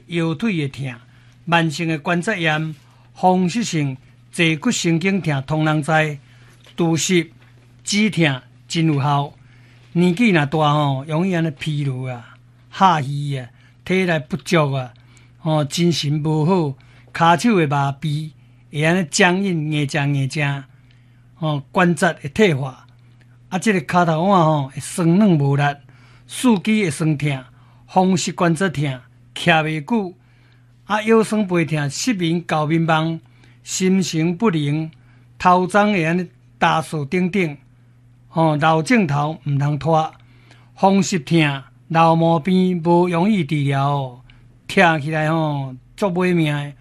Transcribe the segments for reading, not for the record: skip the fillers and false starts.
腰腿會疼，慢性的關節炎、風濕性坐骨神經疼，通人知，除濕止疼真有效。年紀若大吼，容易按呢疲勞啊、下虛啊、體力不足啊，吼精神無好，跤手會麻痹，會按呢僵硬硬正硬正，吼關節會退化，啊，這個跤頭腕吼會酸軟無力，四肢會酸疼，風濕關節疼，徛袂久，啊腰酸背疼、失眠、搞眠夢、心神不寧、頭鬃會按呢焦燥等等。吼，老症頭毋通拖，風濕疼、老毛病無容易治療，疼起來吼足欲命的。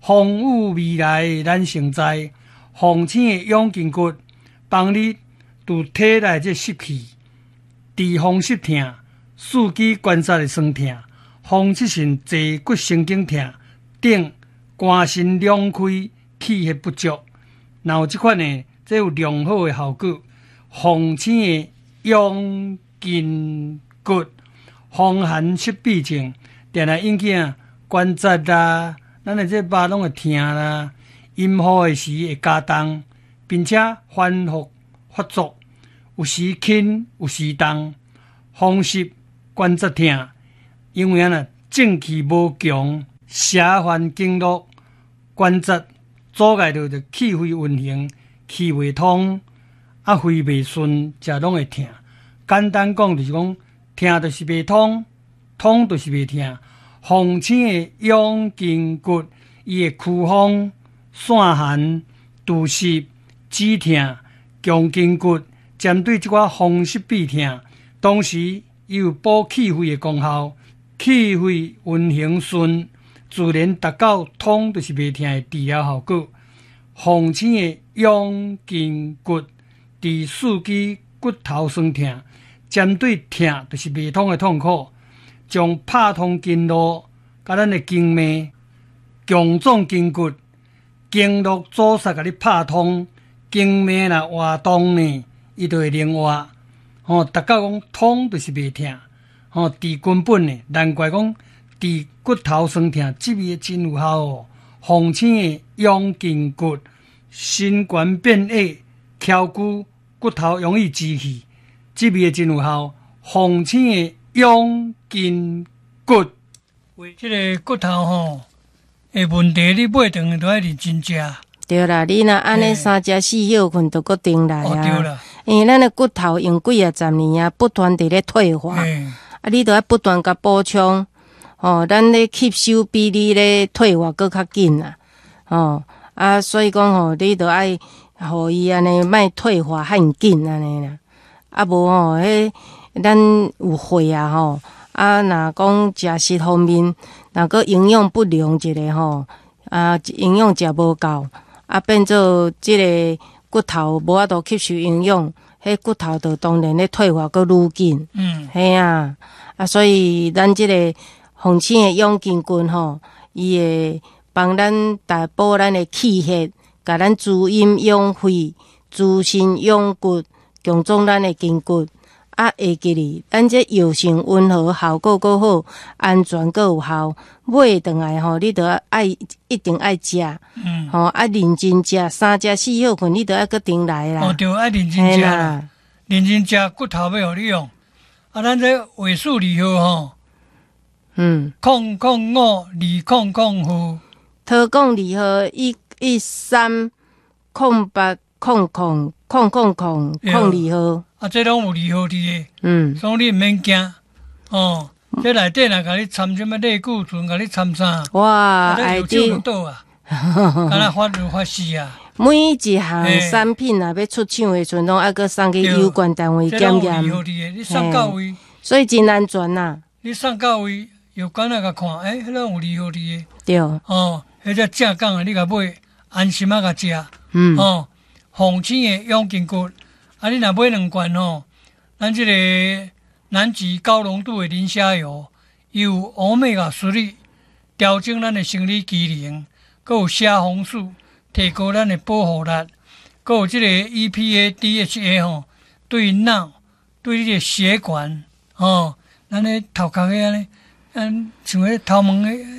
風雨未來咱先知，鳳青的養筋骨，幫你除體內這濕氣，治風濕疼、四肢關節的酸疼、風濕性坐骨神經疼等，肝腎兩虧、氣血不足，若有這款的，這有良好的效果。鳳青的養筋骨，風寒濕痹症，定定引起啊關節啦，咱的這肉攏會疼啦，陰雨的時會加重，並且反覆發作，有時輕有時重，風濕關節疼，因為按呢正氣無強，邪犯經絡，關節阻礙著就氣血運行，氣袂通。啊，肺袂順，食攏會疼。簡單講就是講，疼就是袂通，通就是袂疼。鳳青的養筋骨，伊會驅風、散寒、除濕、止疼、強筋骨，針對這寡風濕痹疼，同時伊有補氣血的功效，氣血運行順，自然達到通就是袂疼的治療效果。鳳青的養筋骨。治四肢骨頭酸疼，針對疼就是袂通的痛苦，將拍通經絡，佮咱的經脈，強壯筋骨，經絡阻塞共你拍通，經脈若活動呢，伊就會靈活。吼，達到講通就是袂疼，吼，治根本的，難怪講治骨頭酸疼，這味真有效哦。鳳青的養筋骨，身懸變矮，翹骨。骨頭容易支氣，這味真有效。鳳青的養筋骨，這個骨頭吼的問題，你買轉去都愛認真食。對啦，你若按呢三食四歇睏，就閣轉來啊。對啦，因為咱的骨頭用幾仔十年啊，不斷佇咧退化，啊，你著愛不斷共補充，吼，咱咧吸收比你咧退化閣較緊啦，吼，啊，所以講吼，你著愛。予伊按呢莫退化遐爾緊按呢啦，啊無吼，彼咱有血啊吼，啊若講食食方面，若閣營養不良一下吼，啊營養食無夠，啊變做這个骨頭無法度吸收營養，彼骨頭就當然咧退化閣愈緊。嘿啊，啊所以咱這个鳳青的養筋骨吼，伊會幫咱大補咱的氣血。共咱滋陰養肺、滋腎養骨、強壯咱的筋骨。啊，會記得咱這藥性溫和，效果閣好，安全閣有效。買轉來吼，你著愛一定愛食，吼啊認真食，三食四歇睏，你著愛閣轉來啦。哦，對，愛認真食啦，認真食骨頭欲予你用。啊，咱這尾數二號吼，005 200號。桃港二號1130800 00 002號。啊，這攏有二號佇的，所以你毋免驚，哦。這內底若共你摻啥物類固醇，共你摻啥？哇，愛滴。倒啊，敢若發如發死啊。每一項產品若欲出廠的時陣，攏愛閣送去有關單位檢驗。你送到位，所以真安全呐。你送到位，藥館仔共看，欸，彼攏有二號佇的。對。哦，彼只正港的，你共買，安心仔共食。哦，鳳青的養筋骨，啊，你若買兩罐吼，咱這個南極高濃度的磷蝦油，有歐米伽3，調整咱的生理機能，閣有蝦紅素，提高咱的保護力，閣有這個 EPA、DHA 吼，對腦、對你的血管，吼，咱的頭殼遐呢，嗯，像彼頭毛的。